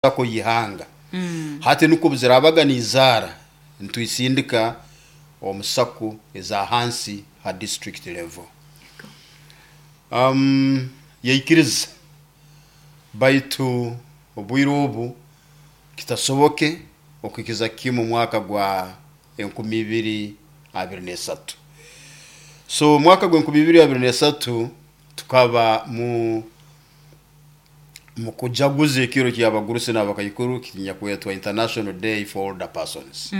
Sacco y'ihanga. Hati nukwo obuzirabaga nizaara nitwisindika omu Sacco eza hansi ha district level. Yaikiriza baitu obwire obu kitasoboke okuhikiza kimu omwaka gwa 2023. So omwaka gwa 2023 tukaba mu mukujaguza ekiro ky'abagurusi n'abakaikuru kinyakwetwa International Day for Older Persons.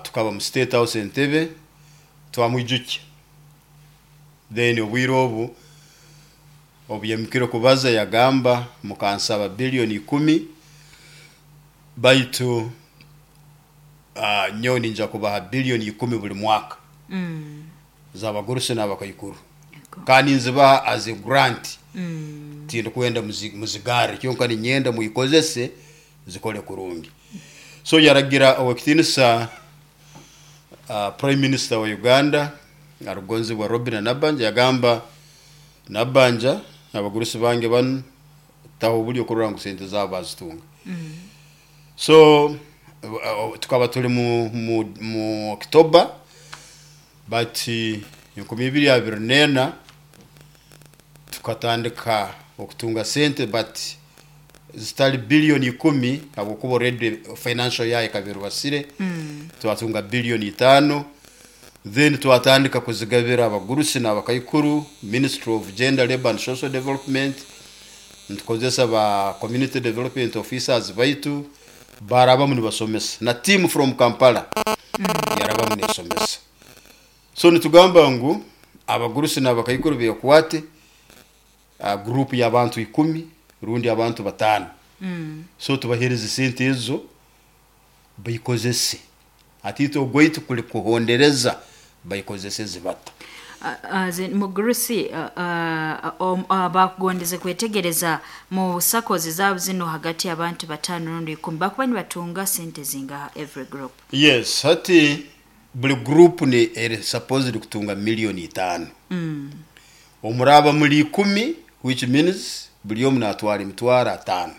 Tukaba mu State House Entebbe twamwijukya. Then obwire obu obuyaimukire kubaza yagamba, mukansaba billion ikumi baitu nyowe ninja kubaha billion ikumi buli mwaka z'abagurusi n'abakaikuru. Kandi nzibaha as a grant, tindikwenda muzigarre, kyonka niinyenda mwikozese zikole kurungi. So yaragira Owekitinisa Prime Minister wa Uganda arukugonzebwa Robinah Nabbanja yagamba, Nabbanja abagurusi bange banu taho obulyo kurora ngu sente zaabo bazitunga. So tukaba tuli mu October but 2024 tukatandika okutunga sente but zitali billion ikumi habwokuba already financial year ekaba erubasire, twatunga billion itaano then twatandika kuzigabira abagurusi n'abakaikuru, Ministry of Gender, Labour and Social Development nitukozesa ba Community Development Officers baitu barabamu nibasomesa na team from Kampala yarabamu nesomesa. So nitugamba ngu abagurusi n'abakaikuru bekwate group y'abantu ikumi rundi abantu bataano, so tubahereze sente ezo baikozese. Hati itwe ogwaitu kuli kuhondereza baikozeseze bata. Mugurusi, bakugondeze kwetegereza mu SACCOs zaabo zinu hagati y'abantu bataano rundi ikumi bakuba nibatunga sente zingaha every group? Yes, hati buli group ni eri supposed kutunga million itaano. Omuraaba muli ikumi which means buli omu natwara emitwaro ataano.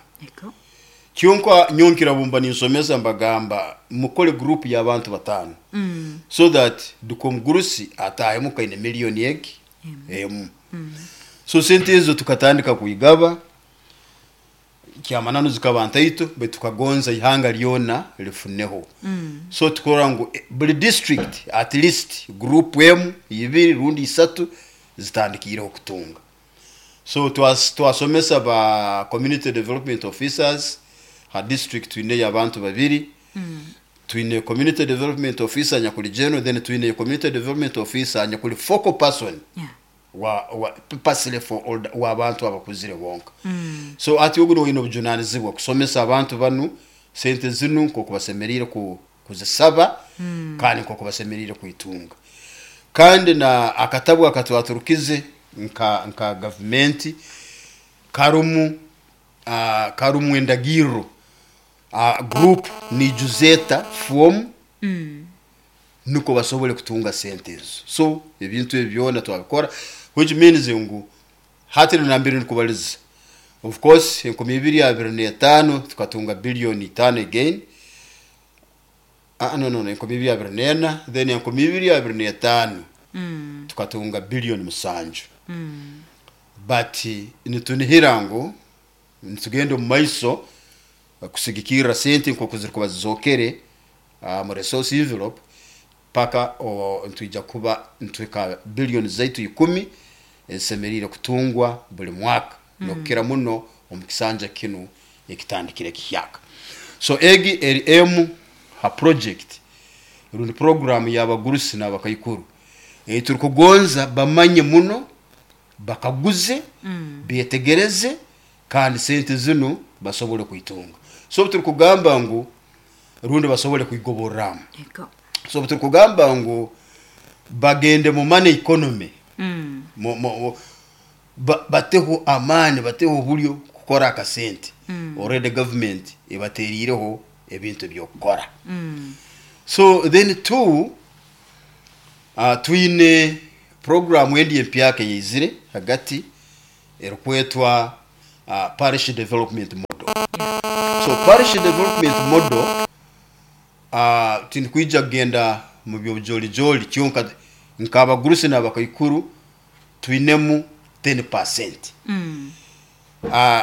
Kyonka nyowe nkira bumba ninsomesa mbagamba mukole group y'abantu bataano so that duka omugurusi ataahemu kaine million egi emu. So sente ezo tukatandika kwigaba, kyamananu zikaba ntaito baitu tukagonza ihanga lyona lifuneho. So tukurora ngu buli district at least group emu, ibiri rundi isatu zitandikiireho kutunga. So twasomesa ba community development officers, ha district twineyo abantu babiri, twine community development officer anyakuli general, then twine community development officer anyakuli focal person wa purposely for older, w'abantu abakuzire bonka. So hati ogu niwe oine obujunanizibwa kusomesa abantu banu sente zinu nk'oku basemeriire kuzisaba kandi nk'oku basemeriire kwitunga. Kandi na akatabu akatwaturukize nka gavumenti karumu karumu endagirro group niijuza eta foomu nukwo basobole kutunga sente ezo. So ebintu ebi byona twabikora which means ngu hati nambere ndikubaliza of course 2025 tukatunga billion itaano again, no no 2024 then 2025 tukatunga billion musanju. But nitunihira ngu nitugenda omu maiso kusigikirra sente nk'oku zirikuba zizookere mu resource envelope paka nitwija kuba nituhika billion zaitu ikumi ezisemeriire kutungwa buli mwaka n'okukira muno omu kisanja kinu ekitandikire kihyaka. So egi eri emu ha project rundi program y'abagurusi n'abakaikuru ei turukugonza bamanye muno, bakaguze, betegereze kandi sente zinu basobole kwitunga. So obu turukugamba ngu rundi basobole kwigoborramu. So obu turukugamba ngu bagende mu money economy, bateho amaani, bateho obulyo kukora akasente, already government ebateriireho ebintu eby'okukora. So then two, twine program endi empyaka eyaizire hagati erukwetwa Parish Development Model. So Parish Development Model, tindikwija kugenda mu by'obujoolijooli, kyonka nk'abagurusi n'abakaikuru twinemu 10%.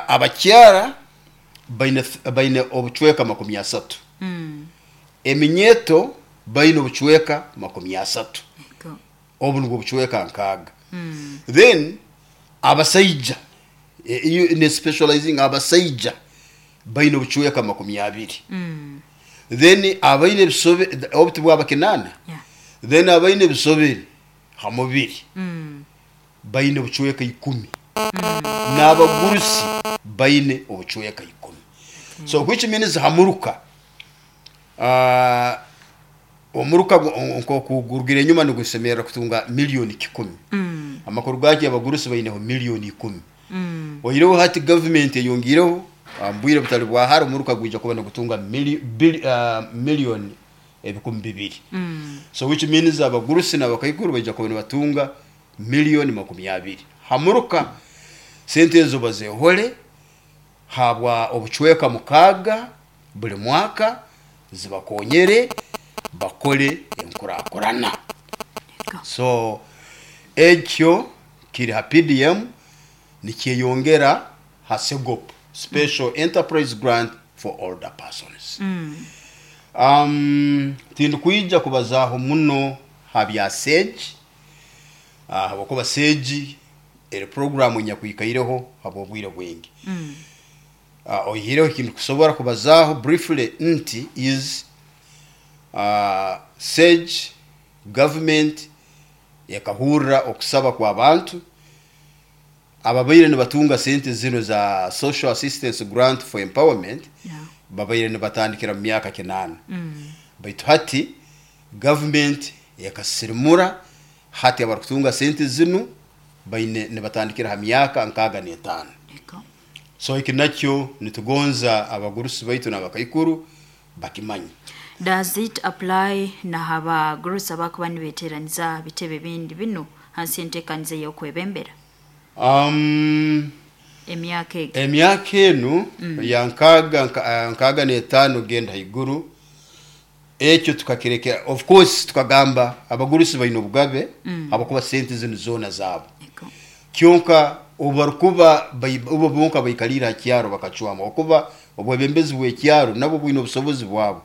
Abakyara baine obucweka 30. Eminyeeto baine obucweka 30. Obu nubwo obucweka 60. Then abasaija, ne specializing abasaija baine obucweka 20. Then abaine ebisobe, obu tibwaba 8. Then abaine ebisobere ha mubiri baine obucweka 10. N'abagurusi baine obucweka 10. So which means ha muruka, omuruka nk'oku gurugire enyuma nigusemerra kutunga 1,000,000. Amakuru gakyo abagurusi baineho 10,000,000. Oihireho hati gavumenti eyongiireho, omu bwire butali bwa hara omuruka gwija kuba nigutunga 2,000,000. So which means abagurusi n'abakaikuru baija kuba nibatunga 20,000,000. Ha muruka sente ezo bazehole habwa obucweka 6 buli mwaka zibakonyere bakole enkurakurana. So ekyo kiri ha PDM, nikyeyongera ha SEGOP, Special Enterprise Grant for Older Persons. Tindikwija kubazaaho muno ha bya SAGE, habwokuba SAGE eri programu enyakwikaireho habw'obwire bwingi. Oihireho ekintu kusobora kubazaaho briefly nti is SAGE government ekahurra okusaba kw'abantu ababaire nibatunga sente zinu za Social Assistance Grant for Empowerment, babaire nibatandikira mu myaka 8. Baitu hati government ekasirimura, hati abarukutunga sente zinu baine nibatandikira ha myaka 65. So eki nakyo nitugonza abagurusi baitu n'abakaikuru bakimanye. Does it apply na abagurusi abakuba nibeteraniza bitebe bindi binu hansi y'enteekaniza ey'okwebembera? Emyaka egi. Emyaka enu ya 65 genda haiguru, ekyo tukakirekera. Of course tukagamba abagurusi baine obugabe, habwokuba sente zinu zoona zaabo. Kyonka obu barukuba obu bonka baikaliire ha kyaro bakacwamu, okuba obwebembezi bw'ekyaro nabwo bwine obusobozi bwabo.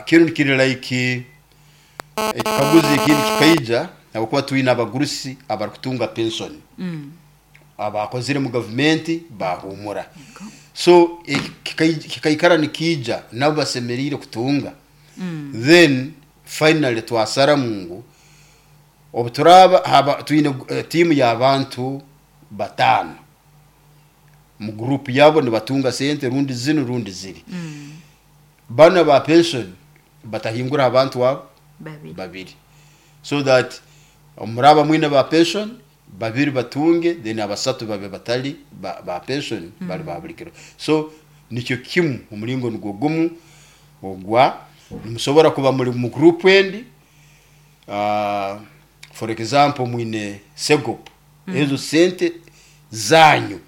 Kinu kiri like ekikaguzo ekindi kikaija, habwokuba twine abagurusi abarukutunga pension, abakozire mu gavumenti bahuumura. So kikaikara nikiija, nabo basemeriire kutunga. Then finally twasaramu ngu obu turaaba haba twine tiimu y'abantu 5 mu group yabo nibatunga sente rundi zinu rundi ziri. Banu aba pension batahingura abantu abo babiri. Babiri. So that muraba mwine ba pension babiri batunge, then abasatu babe batali ba pension, bali ba buli kiro. So nikyo kimu, omulingo nugwo gumu ogwa nimusobora kuba muri mu group endi, for example mwine SEGOP, ezo sente zanyu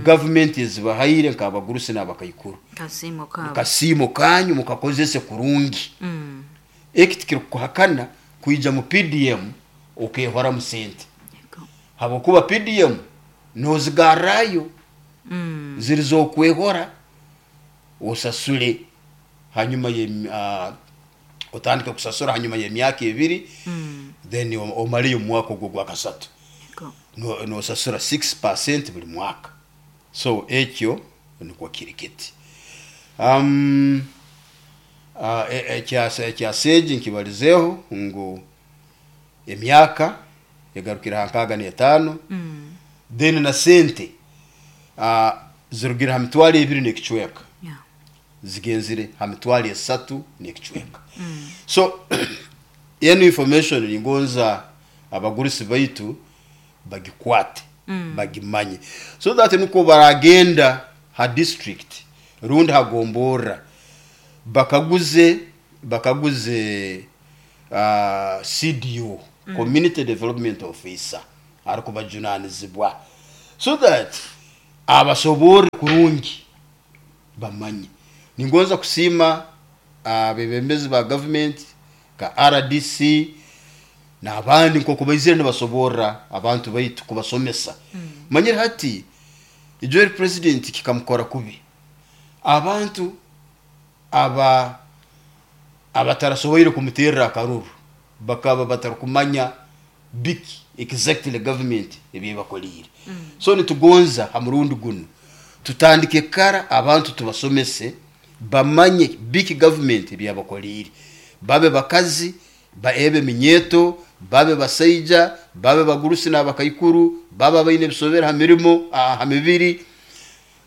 gavumenti ezibahaire nk'abagurusi n'abakaikuru. Kasiimo kaabo. Kasiimo kanyu mukakozese kurungi. Eki tikirikukuhakana kwija mu PDM okehoramu sente. Habwokuba PDM nozigarrayo, ziri z'okwehora, osasule hanyuma ye otandike kusasura hanyuma y'emyaka 2, then omaleyo omwaka ogwo ogwa kasatu. Nosasura 6% buli mwaka. So ekyo nikwo kiri kiti. Ekya SAGE nkibalizeeho ngu emyaka egarukire ha 65, then na sente zirugire ha 2,000 n'ekicweka, zigenzire ha 3,000 n'ekicweka. So enu information ningonza abagurusi baitu bagikwate, bagimanye, so that nukwo baragenda ha district rundi hagomborra bakaguze CDO, Community Development Officer, arikubajunanizibwa. So that abasoborre kurungi bamanye. Ningonza kusiima abebembezi ba gavumenti nka RDC n'abandi nk'oku baizire nibasoborra abantu baitu kubasomesa. Manyire hati ijo president kikamukora kubi. Abantu aba abatarasoboire kumuterra akaruru bakaba batarukumanya biki exactly government ebyebakoliire. So nitugonza ha murundi gunu tutandike kara, abantu tubasomese bamanye biki government ebyabakoliire, babe bakazi, baebe minyeto, babe basaija, babe bagurusi n'abakaikuru, babe baine ebisobera ha mirimo, ha mibiri.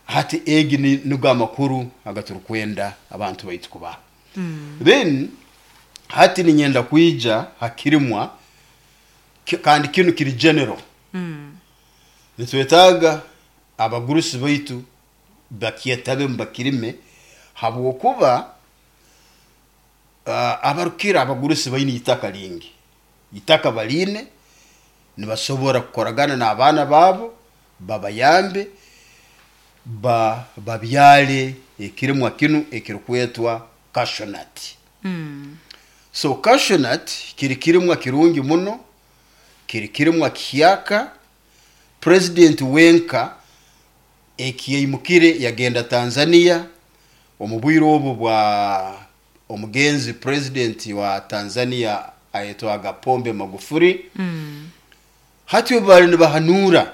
Hati egi nigo amakuru agaturukwenda abantu baitu kubaha. Then hati ninyenda kwija hakirimwa kandi kinu kiri general. Nitwetaaga abagurusi baitu bakyetabe bakirime, habwokuba abarukira abagurusi baine itaka lingi, itaka baline, nibasobora kukoragana n'abaana baabo babayambe babyale ekirimwa kinu ekirukwetwa cashew nut. So cashew nut kiri kirimwa kirungi muno, kiri kirimwa kihyaka. President wenka ekiyaimukire yagenda Tanzania omu bwire obu bwa omugenzi president wa Tanzania ayetwaga Pombe Magufuli. Hati obu bali nibahanura,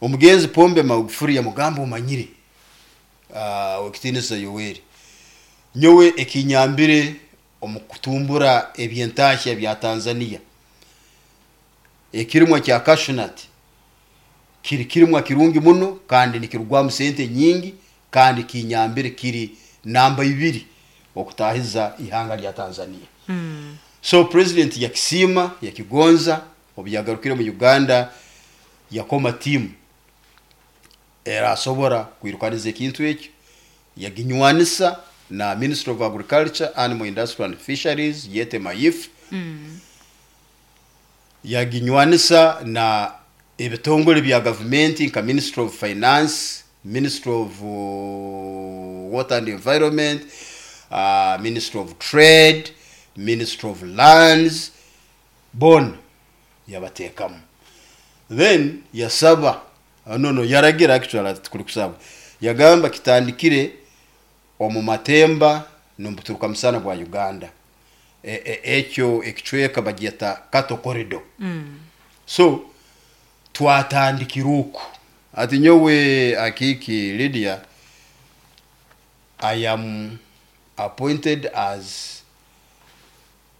omugenzi Pombe Magufuli yamugamba, "Omanyire, wekitinisa Yoweri, nyowe ekinyambire omu kutumbura ebyentahya bya Tanzania, ekirimwa kya cashew nut kiri kirimwa kirungi muno kandi nikirugwamu sente nyingi, kandi kinyambire, kiri namba 2 okutahiza ihanga lya Tanzania." So president yakisiima, yakigonza. Obu yagarukire mu Uganda yakoma tiimu erasobora kwirukaniza ekintu ekyo, yaginywanisa na Ministry of Agriculture, Animal Industry and Fisheries, yete MAIF. Yaginywanisa na ebitongole bya gavumenti nka Ministry of Finance, Ministry of Water and Environment, Ministry of Trade, Ministry of Lands, bona yabateekamu. Then yasaba, no, yaragira, actually kuli kusaba, yagamba kitandikire omu matemba n'omubuturuka musana bwa Uganda. Ekyo ekicweka bagyeta Cattle Corridor. So twatandikira oku. Ati nyowe Akiiki Lydia, I am appointed as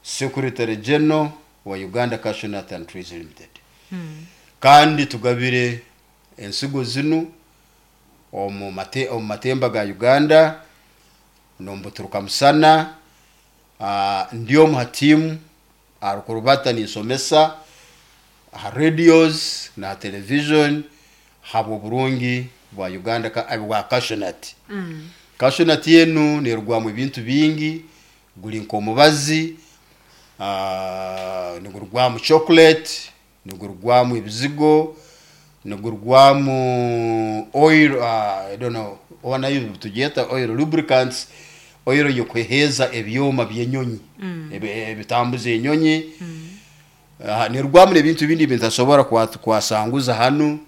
Secretary General wa Uganda Cashew Nut and Trees Limited, kandi tugabire ensigo zinu omu matemba ga Uganda n'omubuturuka musana. Ndi omu ha tiimu arukurubata ninsomesa ha radios na television habw'oburungi bwa Uganda bwa cashew nut. Cashew nut enu nerugwamu ebintu bingi, guli nk'omubazi, nigurugwamu chocolate, nigurugwamu ebizigo, nigurugwamu oil, I don't know oba nayo tugyeta oil, lubricants, oil yokuheeza ebyoma by'enyonyi, ebitambuza enyonyi. Nirugwamu n'ebintu bindi ebintasobora kwasanguza hanu,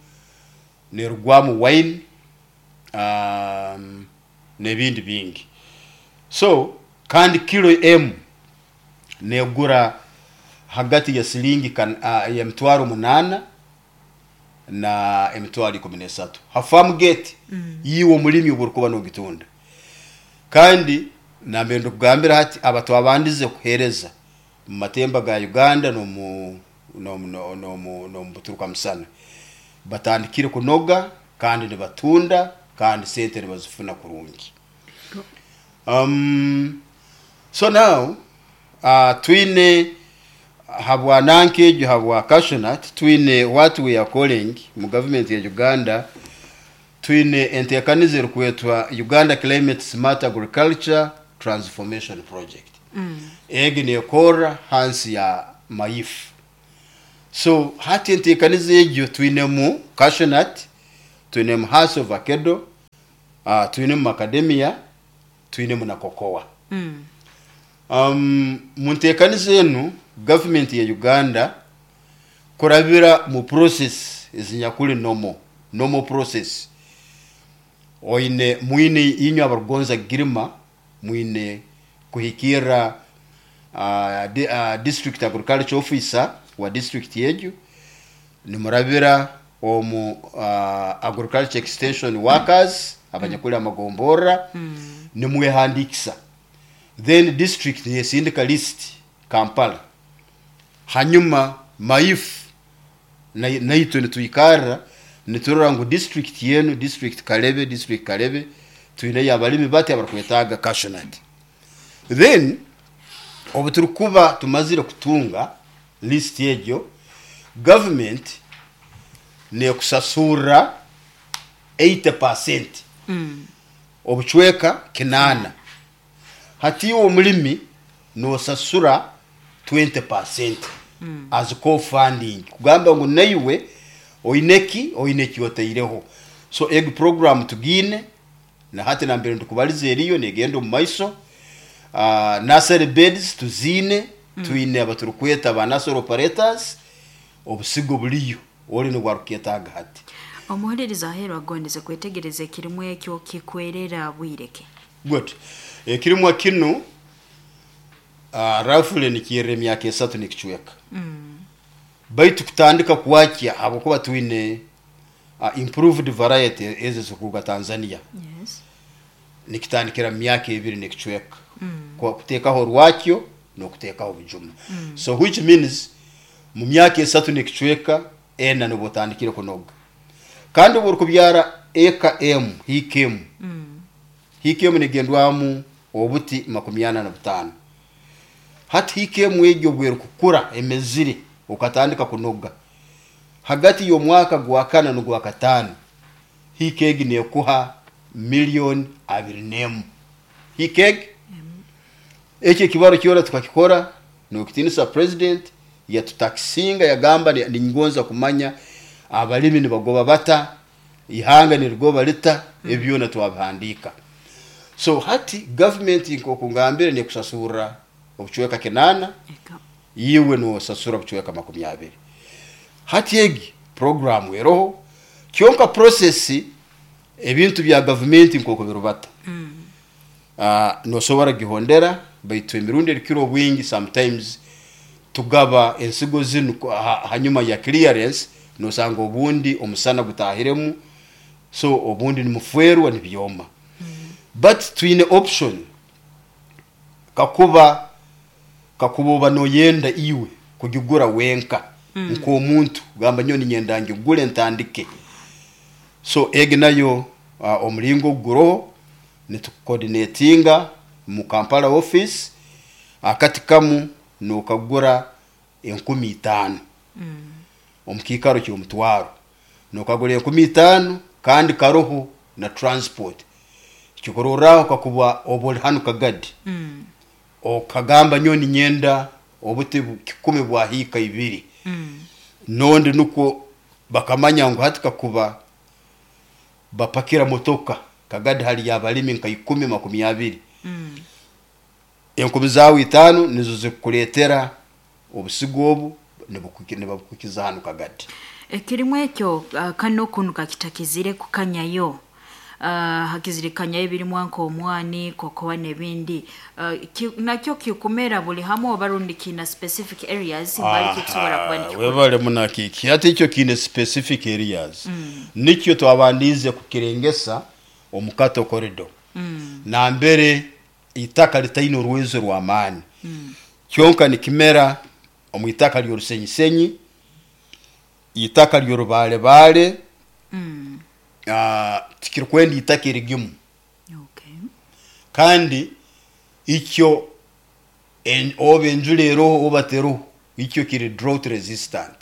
nirugwamu wine, n'ebindi bingi. So kandi kilo emu negura hagati ya silingi ya 800,000 na 13,000 ha farm gate yiwe omulimi oburukuba nogitunda. Kandi nambere ndikugambira hati, aba twabandize kuheereza mu matemba ga Uganda n'omu buturuka musana batandikire kunoga kandi nibatunda, kandi sente nibazifuna kurungi. So now twine habwa nanka egyo, habwa cashew nut, twine what we are calling mu government ya Uganda, twine enteekaniza erikwetwa Uganda Climate Smart Agriculture Transformation Project. Egi nekorra hansi ya MAIF. So hati enteekaniza egyo twinemu cashew nut. Twinemu Hass avocado, twinemu macadamia, twinemu na cocoa. Mu nteekaniza enu, gavumenti ya Uganda kurabira mu process ezinyakuli normal process, oine mwine inywe abarukugonza kugirima, mwine kuhikirra district agriculture officer wa district egyo, nimurabira omu agriculture extension workers abanyakuli amagomborra, nimwehandikisa, then district nesindika list Kampala. Hanyuma MAIF naitwe nitwikarra niturora ngu district yenu, district Kalebe, district Kalebe twineyo abalimi bati abarukwetaaga cashew nut. Then obu turukuba tumazire kutunga list egyo, government nekusasurra 80%, obucweka 80. Hati iwe omulimi nosasura 20% as co-funding, kugamba ngu naiwe oineki oine eki otaireho. So egi program tugiine na hati nambere ndikubaliza eriyo negenda omu maiso. Nursery beds tuziine, twine abaturukweta ba nursery operators, obusigo buliyo oli nibwo aruketaaga hati. Omuhuliriza aheeru agondeze kwetegereza, ekirimu ekyo kikwerera bwireke? Good. Ekirimwa kinu roughly nikirra emyaka 3 nekicweka, baitu kutandika kwakya, habwokuba twine improved variety ezo ezikuruga Tanzania, nikitandikira mu myaka 2 nekicweka kuteekaho orwakyo n'okuteekaho obujuma. So which means mu myaka 3 nekicweka, 4, nibwo otandikire kunoga. Kandi obu orukubyara eka emu, hiika emu, hiika emu negendwamu obuti 45. Hati hiika emu egyo obwerukukura emezire, okatandika kunoga hagati y'omwaka gwa kana n'ogwa kataano, hiika egi nekuha miliyoni 21 hiika egi. Ekyo ekibaro kyona tukakikora nokitinisa president yatutakisinga, yagamba, "Ningonza kumanya abalimi nibagoba bata, ihanga nirigoba lita." Ebyo byona twabihandiika. So hati gavumenti, nk'oku ngambire, nekusasurra obucweka 80, Eka. iwe nosasura obucweka 20. Hati egi program eroho, kyonka process, ebintu bya gavumenti nk'oku birubata, nosobora gihondera, baitu emirundi erikira obwingi sometimes tugaba ensigo zinu hanyuma ya clearance, nosanga obundi omusana gutahiremu, so obundi nimufwerwa nibyoma. But twine option, kakuba oba noyenda iwe kugigura wenka nk'omuntu, gamba, "Nyowe ninyenda ngigule ntandike." So egi nayo omulingo guroho, nitucoordinatinga mu Kampala office. Akati kamu nokagura 5000 omu kiikaro ky'omutwaro, nokagura 5000, kandi karoho na transport. Kyokurorraho, kakuba oba oli hanu Kagadi, okagamba, "Nyowe ninyenda obuti 100 bwa hiika 2," nondi nukwo bakamanya ngu hati kakuba bapakira motoka, Kagadi hali abalimi nka 10, 20, enkumi zaawe 5 nizo zikukuleetera obusigo obu, nibabukukiza hanu Kagadi. Ekirimu ekyo kano kunu kakitakizire kukanyayo, hakizire kanyayo ebirimu nk'omwani, kokoa n'ebindi, nakyo kikumera buli hamwe oba rundi kiina specific areas mbali kikusobora kuba nikikura? Webale munakiki. Hati ekyo kiine specific areas, nikyo twabandiize kukirengesa omu Kato Corridor, nambere itaka litaine orwezo rw'amaani. Kyonka nikimera omu itaka ly'orusenyisenyi, itaka ly'orubaalebaale, tikirikwenda itaka erigimu. Kandi ikyo oba enjura eroho oba teroho, ikyo kiri drought resistant.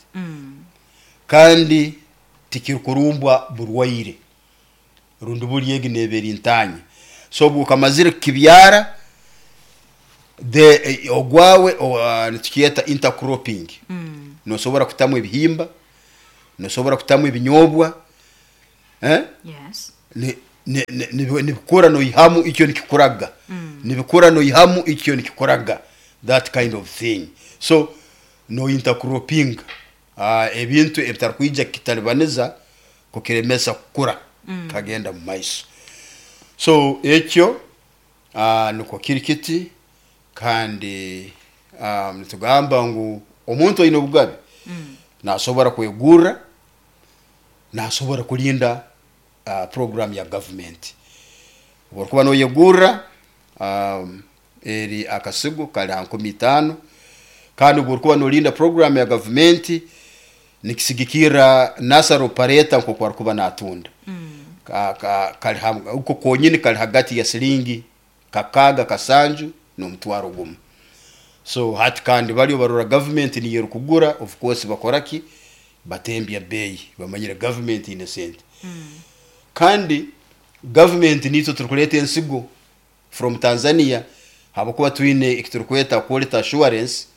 Kandi tikirikurumbwa burwaire rundi buli egi neeba eri ntaanya. So obu okamazire kukibyara, the ogwawe nitukyeta intercropping, nosobora kutamu ebihimba, nosobora kutamu ebinyobwa. Eh? Yes. Nibikura noihamu ikyo nikikuraga, nibikura noihamu ikyo nikikuraga, that kind of thing. So no intercropping ebintu ebitarukwija kitalibaniza kukiremesa kukura kagenda mu maiso. So ekyo nukwo kiri kiti. Kandi nitugamba ngu omuntu aine obugabe nasobora kwegurra, nasobora kulinda program ya government. Oburukuba noyegurra, eri akasigo kali ha 5000, kandi oburukuba nolinda program ya gavumenti, nikisigikirra nursery operator nkoku arukuba natunda. Kali uko konyini kali hagati ya silingi 6 7 n'omutwaro 1. So hati kandi bali barora government niyo erukugura, of course bakora ki? Batembya beeyi. Bamanyire government ine sente, kandi government nitwe turukuleeta ensigo from Tanzania, habwokuba twine ekiturukweta quality assurance,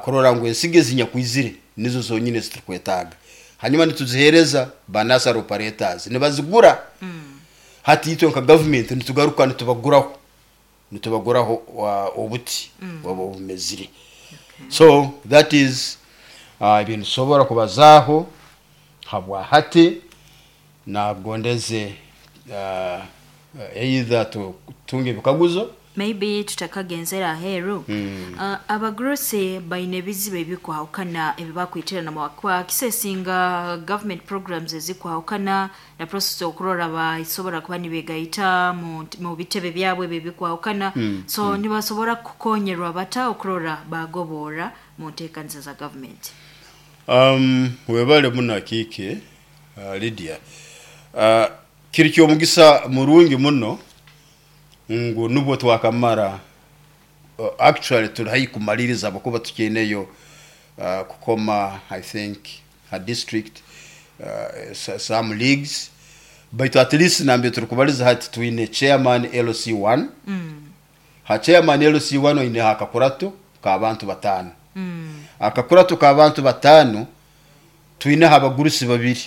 kurora ngu ensigo ezinyakwizire nizo zonyini eziturukwetaaga. Hanyuma nituziheereza ba nursery operators, nibazigura. Hati itwe nka government nitugaruka nitubaguraho obuti oba obumezire. So that is ebintu tusobora kubazaaho habwa hati. Nagondeze either tutunge ebikaguzo. Maybe tutakagenzera aheeru, abagurusi baine ebizibu ebikwahukana ebibakwiterana kwakisesinga government programs ezikwahukana na process okurora basobora kuba nibegaita mu bitebe byabwe ebyo ebikwahukana. So nibasobora kukonyerwa bata okurora bagobora mu nteekaniza za government? Webale muno akiike Lydia. Kiri kyomugisa murungi muno ngu nubwo twakamara, actually tuli haihi kumaliriza, habwokuba tukyineyo kukoma, I think, ha district some leagues, baitu at least nambere turikubaliza hati twine chairman LC1. Ha chairman LC1 oineho akakurato k'abantu 5. Akakurato k'abantu 5, twineho abagurusi babiri.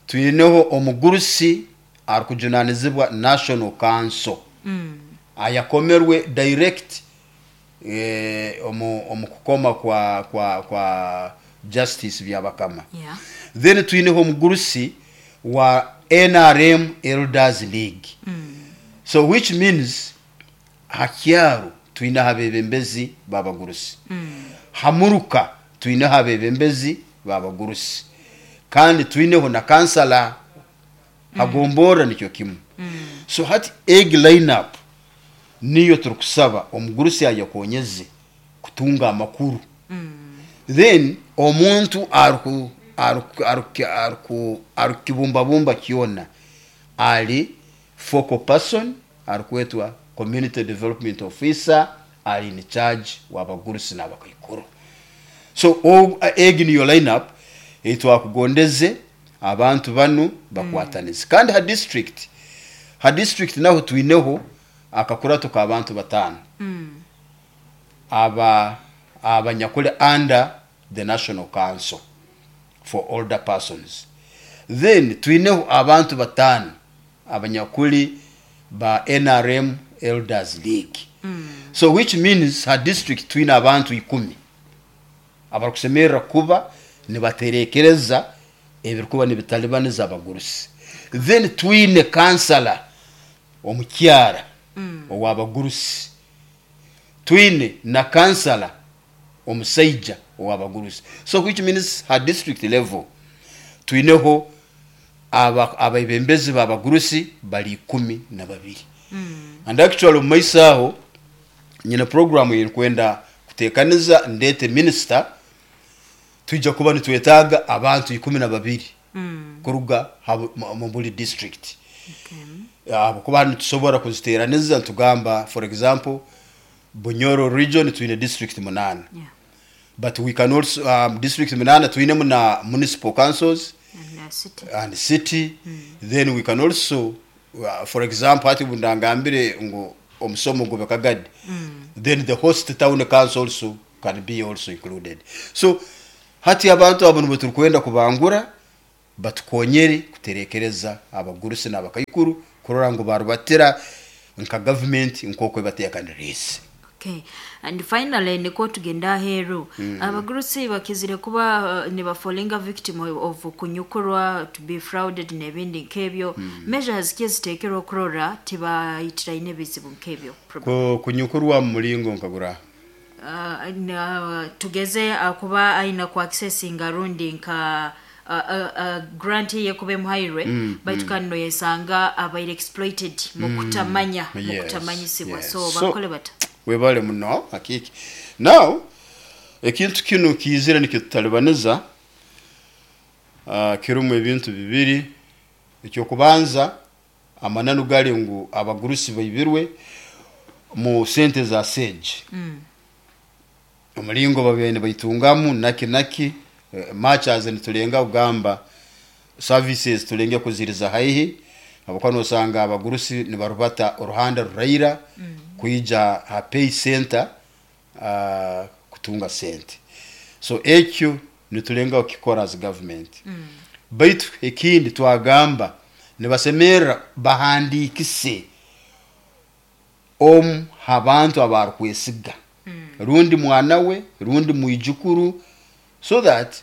Twineho omugurusi arukujunanizibwa National Council, ayakomerwe direct omu kukoma kwa Justice Byabakama. Then twineho omugurusi wa NRM Elders League. So which means hakyaro twineho abebembezi babagurusi, hamuruka twineho abebembezi babagurusi, kandi twineho na kansala hagombora nikyo kimu. So hati eg line up niyo turukusaba omugurusi ayakonyeze kutunga amakuru. Then omuntu arukibumbabumba kyona ali focal person arukwetwa community development officer, ali in charge w'abagurusi n'abakaikuru. So egi niyo line up eitwakugondeze abantu banu bakwatanize. Kandi ha district naho twineho akakurato k'abantu 5 aba abanyakuli under the National Council for Older Persons. Then twineho abantu 5 abanyakuli ba NRM Elders League. So which means ha district twine abantu 10 abarukusemerera kuba nibaterekereza ebirikuba nibitalibaniza abagurusi. Then twine kansala omukyara ow'abagurusi, twine na kansala omusaija ow'abagurusi. So which means ha district level twineho abebembezi b'abagurusi bali 12. And actually omu maiso aho nyine program yerikwenda kutekaniza, ndete minister. Twija kuba nitwetaaga abantu 12 kuruga mu buli district. Habwokuba nitusobora kuziteraniza nitugamba, for example, Bunyoro region twine district 8. But we can also district 8 twinemu na municipal councils And city. And city. Then we can also for example, hati bundangambire ngu omusomo gube Kagadi, then the host town council also can be also included. So hati abantu abo nibo turikwenda kubangura. Batukonyere kuterekereza abagurusi n'abakaikuru kurora ngu barubatira nka gavumenti nk'oku ebateekaniriize. Okay. And finally, niko tugenda aheeru. Abagurusi bakizire kuba nibafolinga victim of kunyukurwa, to be frauded n'ebindi nk'ebyo. Measures ki eziteekerwa okurora tibayitiraine ebizibu nk'ebyo? Kunyukurwa mu mulingo nkagura? Tugeze akuba aina ku accessinga rundi nka grant ye kuba emuhairwe, baitu kandi noyesanga abaire exploited mu kutamanya, mu kutamanyisibwa. So bakole bata? Webale muno hakiki. Now ekintu kinu kiizire nikitutalibaniza, kirimu ebintu bibiri. Ekyokubanza, amananu gali ngu abagurusi baibirwe mu sente za sage. Omulingo babaire nibaitungamu naki naki, much as nitulenga kugamba services tulenge kuziriza haihi, habwokuba nosanga abagurusi nibarubata oruhanda ruraira kwija ha pay center kutunga sente. So ekyo nitulenga kukikora as government. Baitu ekindi twagamba nibasemerra bahandiikise omu ha bantu abarukwesiga, rundi mwana we rundi mwijukuru, so that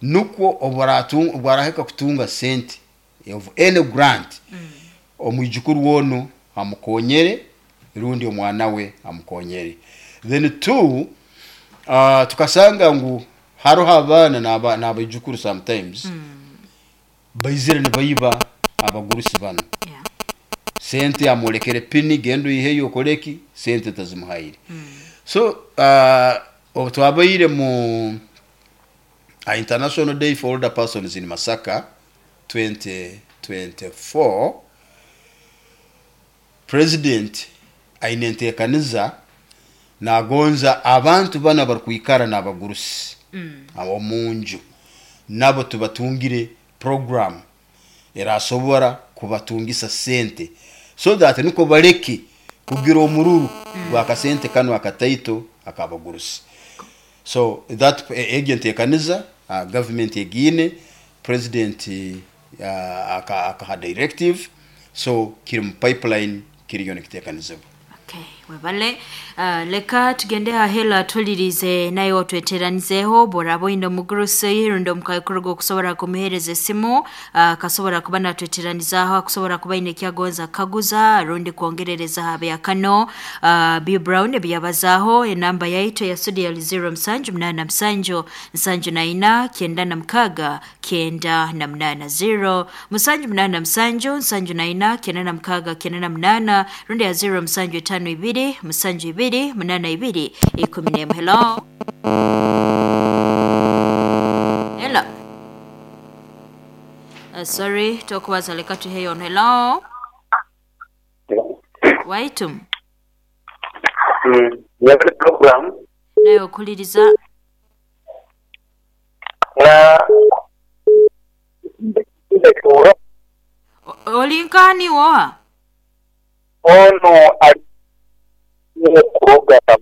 nukwo obwarahika kutunga sente of any grant, omwijukuru wono amukonyere rundi omwana we amukonyere. Then two, tukasanga ngu haroho abaana n'abaijukuru sometimes baizire nibaiba abagurusi bano. Sente amwolekere pini, genda oiheyo okoleki, sente tazimuhaire. So obu twabaire mu International Day for Older Persons in Masaka 2024, President aine enteekaniza nagonza abantu bano abarukwikara n'abagurusi omu nju nabo tubatungire program erasobora kubatungisa sente, so that niko baleke kugira omururu gwakasente kano akataito akabagurusi. So that egyo enteekaniza, government egiine, president akaha directive, so kiri mu pipeline, kiriyo nikiteekanizibwa. Okay, webale. Leka tugende hahela tulirize naye otweteranizeho boraba oine omugurusi rundi omukaikuru okusobora kumuhereza esimu, akasobora kuba natweteranizaho, akusobora kuba aine ekyagonza kukaguza rundi kwongerereza habyakano B Brown ebyabazaaho. Enamba yaitu ya studio yali 0787 74 96 98, 0787 74 96 98 rundi ya 0752 72 82 11. Hello. Hello. Sorry, tokubaza leka tuheyo. Hello. Waitum. Yabale program. Nayo okuliriza. Na Olinkani woha? Ono ali program.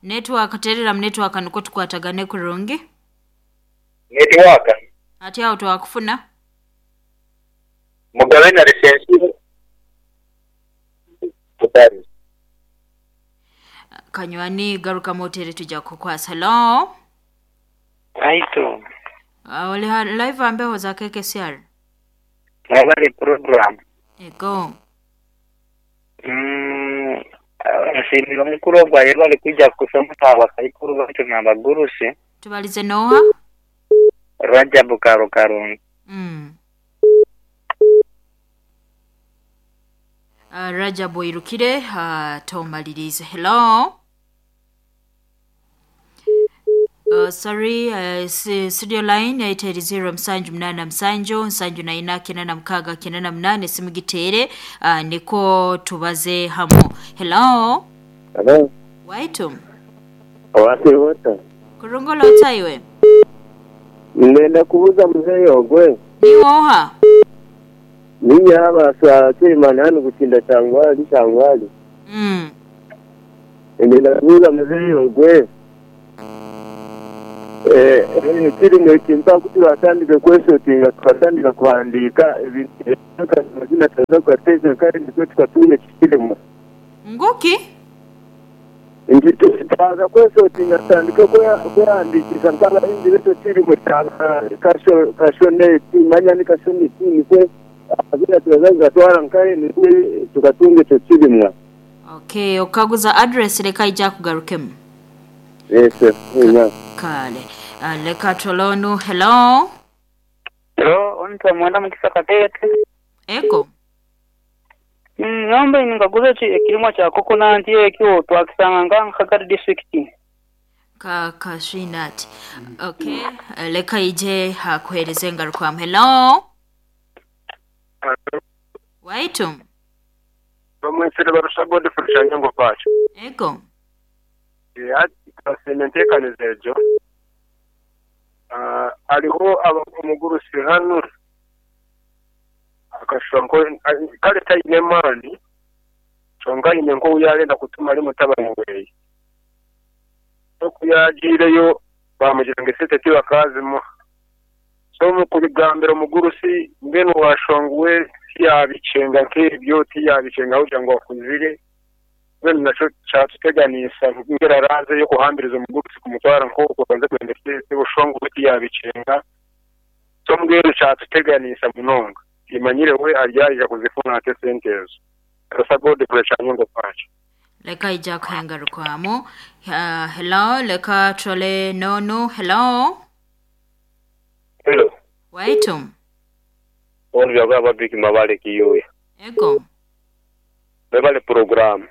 Network terera mu network nuko tukwatagane kurungi. Network. Ati awo twakufuna. Mugabe na lisensi. Kanywani garuka motere tujja kukwasa. Hello. Aito. Oli live ambeho za KKCR. Mwabale program. Ego. Nsimira omukuru ogwo ayebale kwijja kusomesa abakaikuru baitu n'abagurusi. Tubalize Noah. Rajabu Karo Karungi. Rajabu irukire, tomalirize. Hello. Sorry, studio line 880 787 7 96 98 simugitere, niko tubaze hamo. Hello. Hello. Waitum. Wasi wota. Kurungola otaiwe. Nenda kubuza mzee ogwe. Ni oha. Ninyi haba sa Suleiman hanu kutinda changwali changwali. Nenda kubuza mzee ogwe. Ekirimo eki mpaka turatandika kwesotinga tukatandika kuhandiika ebintu amazina turaza kugateeka kandi nikwo tukatunga eki kirimo. Nguki? Nti twaza kwesotinga tutandike kwehandiikisa nk'abahingi b'ekyo kirimo kya kashoneti manya ni kashoneti nikwo amazina turaza kugatwara nkahe nikwo tukatunga ekyo kirimwa. Okay, okaguza address leka ija kugarukemu. Yes, yeah. Kale. Leka tolonu. Hello. Hello, onitwa Mwenda Mukisa Katete. Ego. Ngamba ningaguza ekirimwa kya coconut ekyo twakisanga nga Nkagari district. Ka kashinat. Okay. Leka ije hakuhereze ngarukamu. Hello. Waitu. Bamwesere barusha Godfrey Shanyango pacho. Ego. Ati enteekaniza egyo hariho omugurusi hano akashusha nko kale taine maani kyonka aine nk'ou yarenda kutuma ari mutabani weeye. Oku yagiireyo bamugira ngu esente tibakazimuha. So omu kubigambira omugurusi mbwenu washonga we tiyabicenga nk'ebyo tiyabicenga kugira ngu akuzire mbwenu nakyo kyatuteganisa ngira araze yo kuhambiriza omugurusi kumutwara nk'oku abanze kwenda esente bushonga we tiyabicenga. So mbwenu kyatuteganisa munonga imanyire we aryayija kuzifuna ate esente ezo. Rasa Godfrey Kyanyongo pacho. Leka ija kuhengarukwamu. Hello, leka tole nonu. Hello. Hello. Waitu. Onu byakola Patrick Mabale Kiyoya. Ego. Bebale program.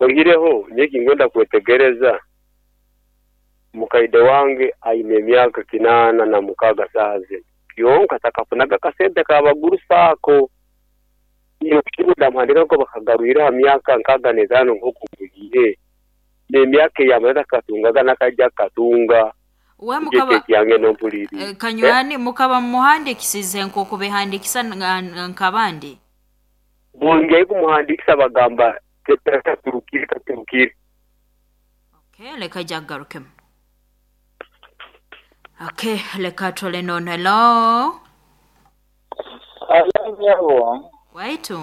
Ogireho nyeki ngenda kwetegereza mukaide wange aine emyaka 86 saaze. Kyonka takafunaga kasente kabagurusa ako. Iyo kibuda muhandika ko bakagarwira ha myaka 65 nko kugiye. N'emyaka yamara katungaga nakajja katunga. We mukaba yange nompuliri. Kanywani mukaba muhandikisize nko kubihandikisa nkabandi. Bongeye kumuhandikisa bagamba katurukire katurukire. Okay, leka jagarukemu. Okay, leka tole non. Hello. Alanyabo. Waitu.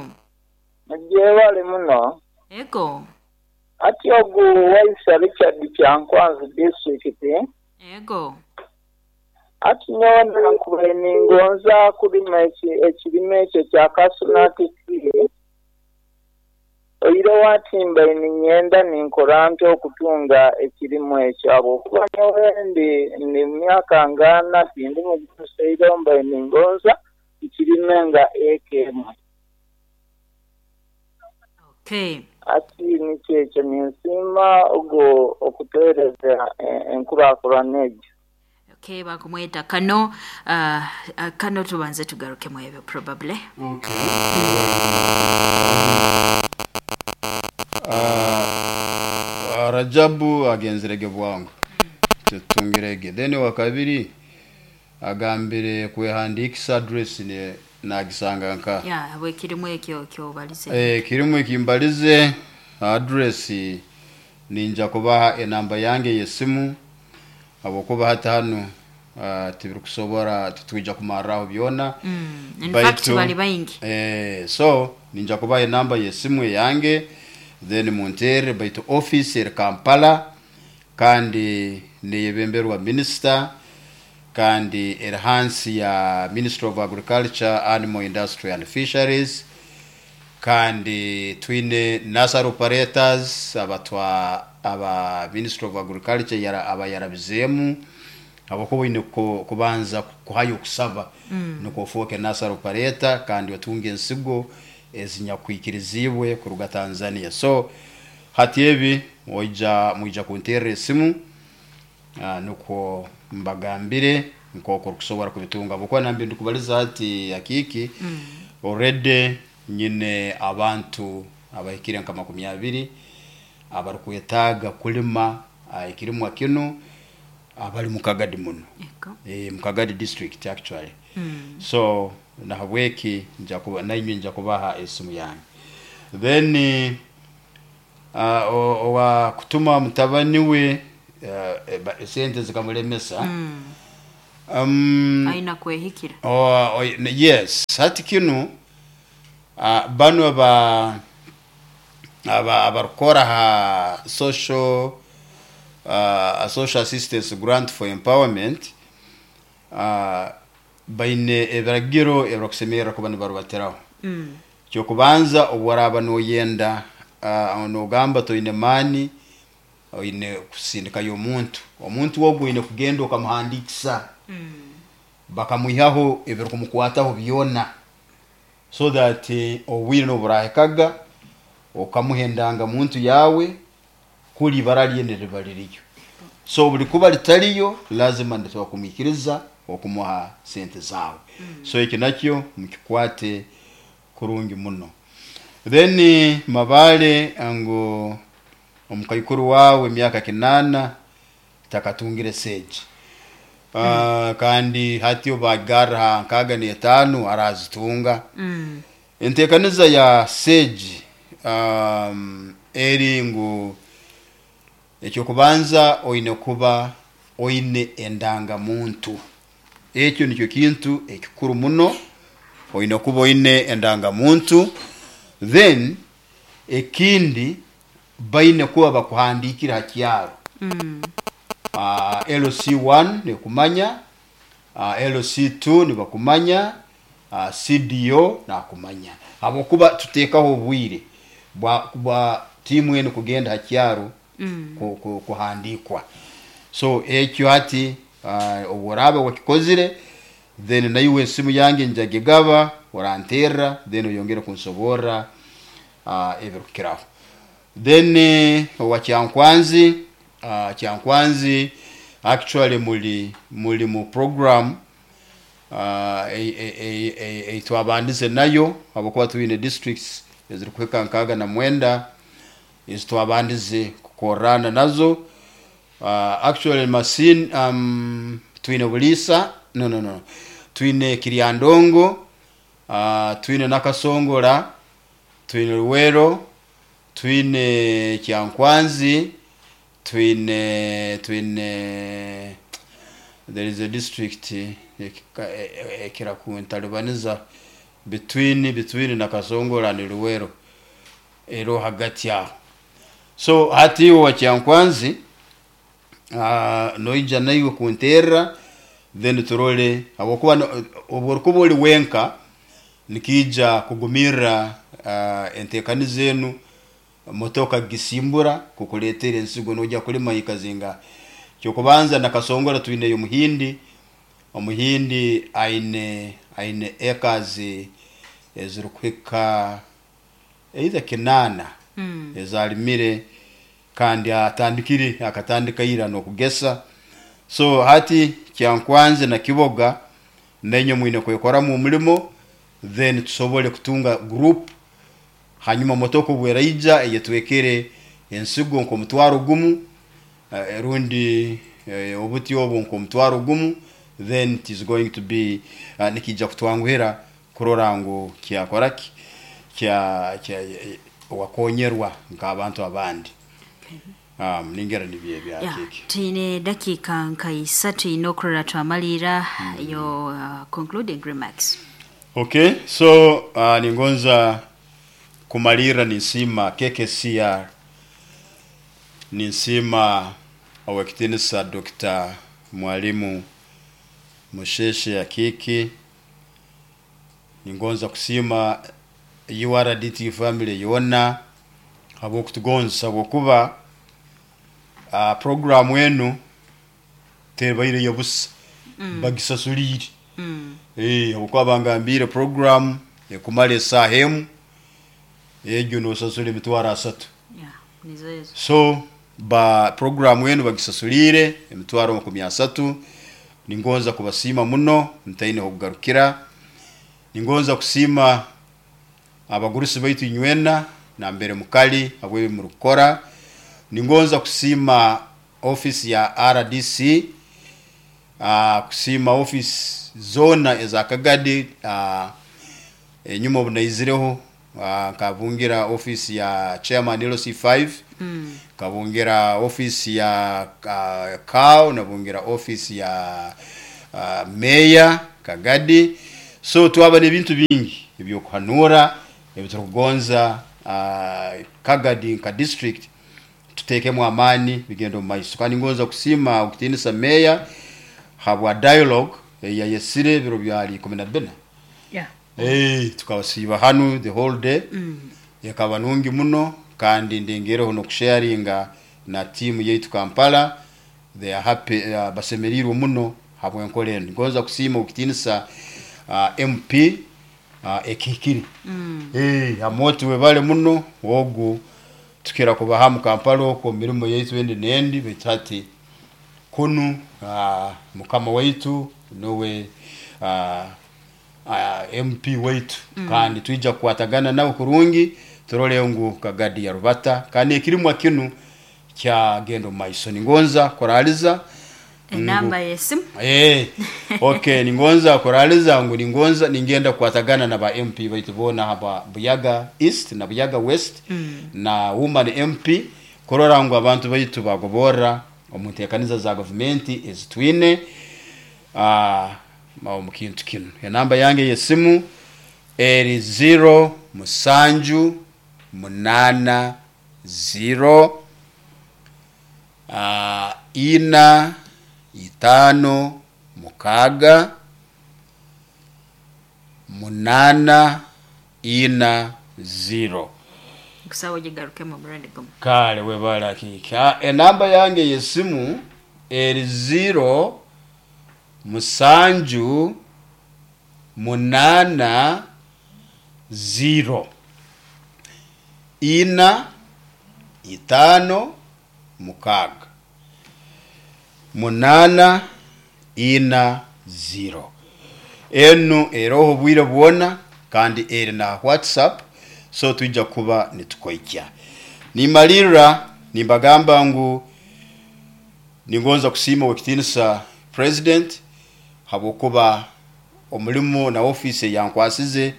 Njewale muno. Ego. Ati ogu waisa Richard Kyankwanzi district. Ego. Ati nyowe nkubaire ningonza kulima ekirime ekyo kya kasunati tree. Oire watimba ninyenda ninkora nti okutunga ekirimu ekyo ahabwokuba nyowe ndi myaka ngana tindi mugurusi mbaire ningonza ekirime nga eka emwe. Okay. Ati nikyo ekyo ninsiima ogwo okuteereza enkurakurana egyo. Okay, bakumweta kano kano tubanze tugarukemu ebyo probably. Okay. Rajabu agenzerege bwangu. Tutungirege. Then wa kabiri agambire kwehandikisa address ne nagisanga nka. Yeah, we kirimu ekyo kyobalize. Kirimu ekimbalize address ninja kubaha enamba yange yesimu abokuba hata hano tibirikusobora tutwija kumarraho byona. In fact bali baingi. So ninja kubaha enamba yesimu yange then muntere baitu office eri Kampala kandi neyebemberwa minister kandi eri hansi ya Ministry of Agriculture, Animal Industry and Fisheries kandi twine nursery operators abatwa aba Ministry of Agriculture yara abayarabizemu abakuba ine kubanza kuhayo kusaba nuko ofuke nursery operator kandi otunge ensigo ezinyakwikirizibwe kuruga Tanzania. So hati ebi oija muija kunterera esimu nuko mbagambire nkoko kusobora kubitunga bukwa nambi ndikubaliza ati akiki already nyine abantu abahikire nka 20 abarukwetaaga kulima ekirimwa kino abali mukagadi muno. Mukagadi district actually. So nahabweki nja kuba nainywe nja kubaha esimu yange. Then owa kutuma mutabani we Esente zikamulemesa. Aina kwehikira. Oh, yes, hati kinu banu aba abarukora ha social social assistance grant for empowerment baine ebiragiro ebirukusemerra kuba nibarubatiraho. Kyokubanza, obu noyenda nogamba toine maani, oine kusindikayo omuntu. Omuntu ogu oine kugenda okamuhandiikisa, bakamwihaho ebirukumukwataho byona, so that obwire n'oburahikaga okamuha endangamuntu yawe, kuli ibara lye niriba liriyo. So buli kuba litaliyo, lazima nituba kumwikiriza okumuha sente zawe. So ekyo nakyo mukikwate kurungi muno. Then Mabale ngu omukaikuru wawe emyaka 8 takatungire seji. Kandi hati obagarra ha 65 arazitunga. Entekaniza ya seji eri ngu ekyokubanza oine kuba oine endangamuntu. Ekyo nikyo kintu ekikuru muno, oine kuba oine endangamuntu. Then ekindi, baine kuba bakuhandikire ha kyaro. LC1 nekumanya, LC2 nibakumanya, CDO nakumanya, habwokuba tutekaho obwire bwa tiimu enu kugenda ha kyaro kuhandikwa. So ekyo hati obu oraaba wakikozire, then naiwe esimu yange njagigaba, oranterra, then oyongere kunsoborra ebirukukiraho. Then owa Kyankwanzi, Kyankwanzi actually muli mu program eitwabandize nayo, habwokuba twine districts ezirikuhika 69 ezitwabandize kukorrana nazo. Actually Masin, twine Buliisa, no, twine Kiryandongo, twine Nakasongola, twine Luwero, twine Kyankwanzi, twine there is a district ekira kuntalibaniza between Nakasongola and Luwero, ero hagati aho. So hati iwe wa Kyankwanzi, noija naiwe kunterra, then turole, habwokuba obu orukuba oli wenka nikiija kugumirra entekaniza enu, motoka kugisimbura kukuleetera ensigo noija kulima ikazinga. Kyokubanza, Nakasongola twineyo omuhindi. Omuhindi aine acres ezirukuhika either 8 ezalimire, kandi atandikire, akatandika ira n'okugesa. So hati Kyankwanzi na Kiboga, nainywe mwine kwekoramu omulimo, then tusobole kutunga group. Hanyuma motoka obweraija eyetwekere ensigo nk'10,000, rundi obuti obwo nk'10,000, then it is going to be nikija kutwanguhira kurora ngu kyakora ki, kya wakonyerwa nk'abantu abandi. Ningera nibyo ebya kiki. Twine dakiika nka 3 ine okurora twamalira. Your concluding remarks. Okay, so ningonza kumalirra ninsiima KKCR, ninsiima owekitinisa Dr. Mwalimu Musheshe Akiki, ningonza kusiima URDT family yona habwokutugonza, habwokuba programu enu tebaire yabusa, bagisasulire. Habwokuba bangambire program ekumara esaaha emu, egyo nosasura 300,000. Yeah, nizo ezo. So ba programu enu bagisasulire 300,000. Ningonza kubasiima muno, ntaine hokugarukira. Ningonza kusiima abagurusi baitu inywena nambere mukali habw'ebi murukukora. Ningonza kusiima office ya RDC, kusiima office zona eza Kagadi. Enyuma obu naizireho Nkabungira office ya chairman LC5, nkabungira office ya CAO, nabungira office ya mayor Kagadi. So twaba n'ebintu bingi ebyokuhanura ebiturukugonza Kagadi nka district tutekemu amaani bigenda omu maiso. Kandi ngonza kusiima okutiinisa meya habwa dialogue eyayesire ebiro byali 14. Hey, tukabasiiba hanu the whole day. Ekaba nungi muno, kandi ndingireho n'okusharinga na tiimu yaitu Kampala. They are happy, basemeriirwe muno habw'enkora enu. Ngonza kusiima okutiinisa MP ekihikire. Hey, Amooti webale muno ogu tukira kuba hamu Kampala okwo omu mirimo yaitu endi n'endi, baitu hati kunu mukama waitu nuwe MP waitu, kandi twija kukwatagana nawe kurungi turole ngu Kagadi yarubata kandi ekirimwa kinu kyagenda omu maiso. Ningonza kuraliza enamba y'esimu. Okay, ningonza kuraliza ngu ningonza ningenda kukwatagana na ba MP baitu boona haba Buyaga East na Buyaga West na woman MP kurora ngu abantu baitu bagoborra omu nteekaniza za gavumenti ezitwine omu kintu kinu. Enamba yange y'esimu eri 0 7 8 0 4 5 6 8 4 0. Nkusaba ogigarukemu omurundi gumu. Kale webale akika. Enamba yange y'esimu eri 0 7 8 0 4 5 6 8 4 0. Enu eroho obwire bwona kandi eri na WhatsApp, so twija kuba nitukoikya. Nimalirra nimbagamba ngu ningonza kusiima owekitiinisa president habwokuba omulimu na office eyankwasize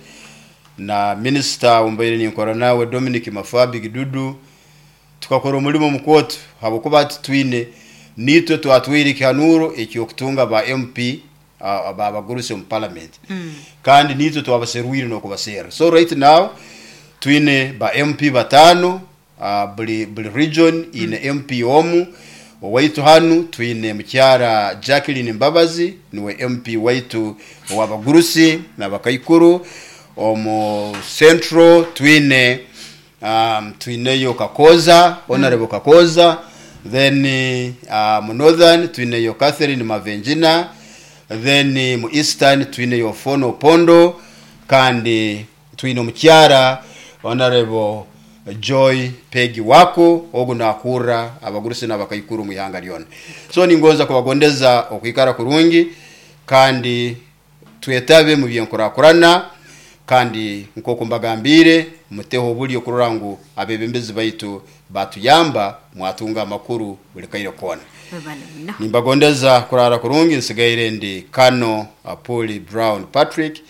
na minisita ombaire ninkora nawe Dominic Mafabi Gidudu, tukakora omulimo mukooto habwokuba hati twine nitwe twatwire ekihanuro ekyokutunga ba MP abagurusi omu parliament, kandi nitwe twabaserwire n'okubaserra. So right now twine ba MP 5, buli region ine MP omu. Owaitu hanu twine mukyara Jacqueline Mbabazi, niwe MP waitu ow'abagurusi n'abakaikuru. Omu Central twine twineyo Kakoza, Honorable Kakoza. Then mu Northern twineyo Catherine Mavenjina. Then mu Eastern twineyo Fono Pondo, kandi twine omukyara Honorable Joy Peggy Wako, ogu nakurra abagurusi n'abakaikuru mu ihanga lyona. So ningonza kubagondeza okwikara kurungi kandi twetabe mu byenkurakurana, kandi nk'oku mbagambire muteho obulyo kurora ngu abebembezi baitu batuyamba mwatunga amakuru buli kaire koona. Webale muno. Nimbagondeza kurara kurungi. Nsigaire ndi Kano Apuli Brown Patrick,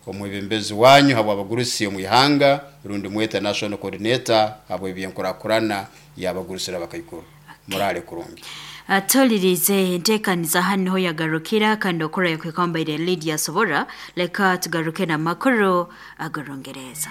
omwebembezi wanyu habw'abagurusi omu ihanga, rundi mwete national coordinator habw'ebyenkurakurana y'abagurusi n'abakaikuru. Murale kurungi. Tolirize enteekaniza hano niho yagarukira, kandi okora yakwikambaire Lydia Sobora. Leka tugaruke n'amakuru agorongereza.